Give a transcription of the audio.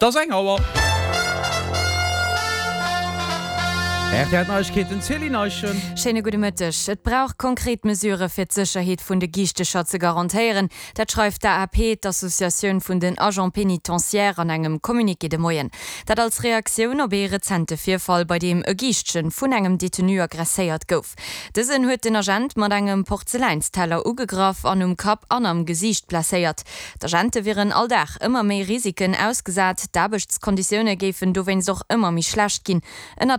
Et ass eng Auer. Rtl Neiegkeeten, Céline Eischen. Schéine gudde Mëtteg. Et brauch konkret Mesurë fir d'Sécherheet vun de Giichtecher ze garantéieren. Dat schreift d'AAP, d'Associatioun vun den Agents pénitentiaires, an engem Communiqué de Moien. Dat als Reaktioun op ee rezente Virfall, bei deem e Giischtchen vun engem Detenu aggresséiert gouf. Dësen huet den Agent mat engem Porzeläinsteller ugegraff an um Kapp an am Gesiicht blesséiert. D'Agente wieren all Dag ëmmer méi Risiken ausgesat, d'Aarbechtskonditioune géifen dowéinst och ëmmer méi schlecht ginn. Ënnert.